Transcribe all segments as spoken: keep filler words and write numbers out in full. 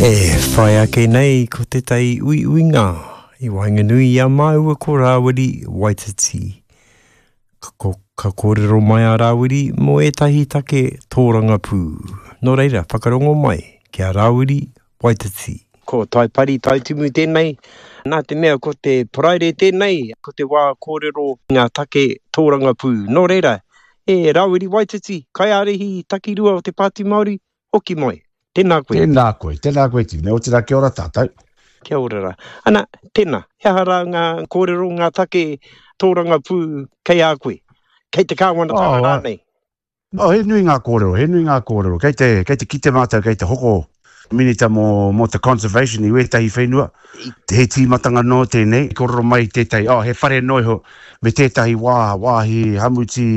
E whai ake nei ko tētahi uiuinga i waenganui i a māua ko Rāwiri Waititi. Ka, ko, ka kōrero mai a Rāwiri mō ētahi take tōrangapū. Nō reira, whakarongo mai ki a Rāwiri Waititi. Ko Taipari Taitumu tēnei, nā te mea ko te Paraire tēnei, ko te wā kōrero ngā take tōrangapū. Nō reira, e Rāwiri Waititi, kaiārahi takirua o te Pāti Māori, hoki mai. Tēnā koe. Tēnā koe, tēnā koe Tine, otirā kia ora tātou. Kia ora rā. Ana, tēnā, he aha rā ngā kōrero, ngā take tōrangapū kei a koe? Kei te kāwanatanga oh, rānei? Oh, he nui ngā kōrero, he nui ngā kōrero. Kei te, kei te kite mātou, kei te hoko minita mō, mō te conservation i wētahi whenua. He tīmatanga nō tēnei. Kōrero mai tētahi, oh, he whare noiho me tētahi wā, wāhi hamuti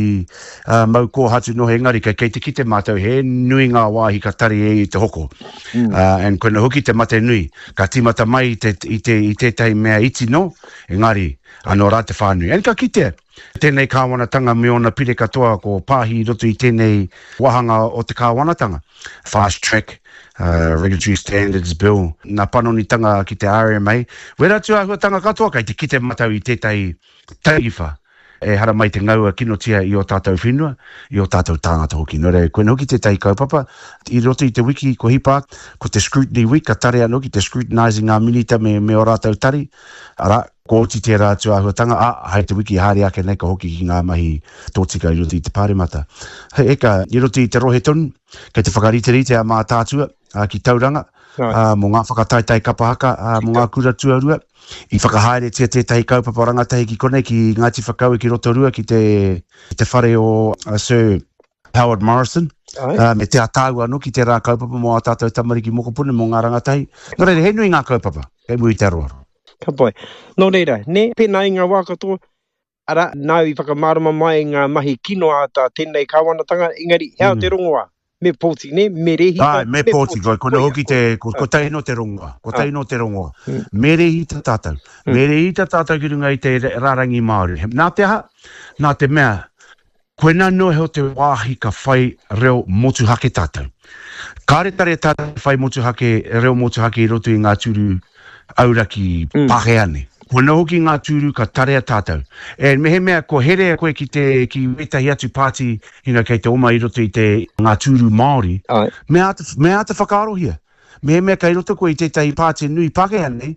uh, mau kōhatu noho engari kei, kei te kite mātou he nui ngā wāhi ka tari e i te hoko. Mm. Uh, and koina hoki te mate nui. Ka tīmata mai i, te, i, te, i tētahi mea iti no, engari anō rā te whānui. And ka kitea, tēnei kāwanatanga me ōna pire katoa ko pāhi i roto i tēnei wāhanga o te kāwanatanga. Fast Track, uh, Regulatory Standards Bill, nā panonitanga ki te R M A. Wera atu āhuatanga katoa kei te kite mātou i tētahi taiwha e hara mai te ngaua kinotia i o tātou whenua, i o tātou tāngata hoki. Nō reira, koina hoki tētahi kaupapa, i roto i te wiki ko hipa, ko te scrutiny week, ka tare anō ki te scrutinizing ngā minita me, me o rātou tari, arā, ko oti tērā atu āhuatanga, ā, hai te wiki haere ake nei ka hoki ki ngā mahi tōtika i roto i te pāremata. Hei eka, i roto i te rohe tonu, kei te whakariterite a Mātaatua, ā, ki Tauranga, ā, mō ngā whakataetae kapa haka, ā, mō ngā kura tuarua. I whakahaeretia tētahi kaupapa rangatahi ki konei, ki Ngāti Whakaue, ki Rotorua, ki te, te whare o Sir Howard Morrison, uh, me te atāu anō ki tērā kaupapa mō ā tātou tamariki mokopuna, mō ngā rangatahi. Nō reira, he nui ngā kaupapa, kei muri te aroaro. Ka pai. Nō reira, ne, pēnā i ngā wā katoa, arā, nāu i whakamārama mai ngā mahi kino a tā tēnei kāwanatanga, engari, hea mm. te rongoā? Me pōti, ne? Me rehita. Ai, me pōti, ko, ko hoki te, ko, ko tahi no te rongoa, ko tahi no te rongoa. Mm. Me rehita tātou. Mm. Me rehita tātou ki runga i te rārangi Māori. Nā te aha? Nā te mea, koina noa heo te wāhi ka whai reo motuhake tātou. Kāre tare tātou whai motuhake, reo motuhake i roto i ngā tūru auraki mm. Pākehā nei. Koina hoki ngā tūru ka tarea tātou. E mehemea ko herea koe ki te ki wētahi atu pāti, you know, kei te oma i roto i te ngā tūru Māori, Ai. me āta, me āta whakaarohia. Mehemea kei roto koe i tētahi pāti nui Pākehā nei,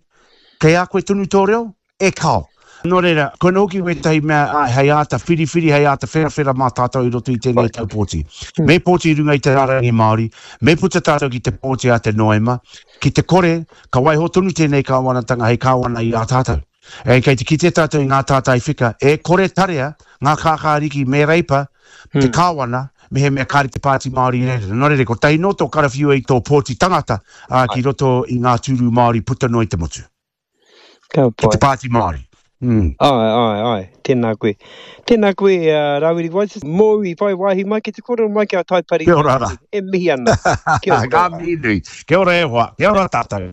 kei a koe tonu tō reo, e kao. Nō reira, koina hoki wētahi mea ai, hei āta whiriwhiri, hei āta wherawhera mā tātou i roto i tēnei tau pōti. Me pōti i runga i te rārangi Māori, me puta tātou ki te pōti a te Noema, ki te kore, ka waiho tonu tēnei kāwanatanga hei kāwana i a tātou. E kei te kite tātou i ngā tātai whika, e kore tarea ngā kākāriki me reipa te hmm. kāwana, mehemea kāre te Pāti Māori i reira. Nō reira, ko tahi nō tō karawhiua i tō pōti tangata ā, ki roto i ngā tūru Māori puta noa i te motu. Ka Ki te Pāti Māori. Mm. Ai, ai, ai, tēnā koe. Tēnā koe, uh, Rāwiri Waititi, mōu i whai wāhi mai ki te kōrero mai ki a Taipari. Kia ora rā. E mihi ana. Kia ora. Ngā mihi nui. Kia ora e hoa. Kia ora tātou.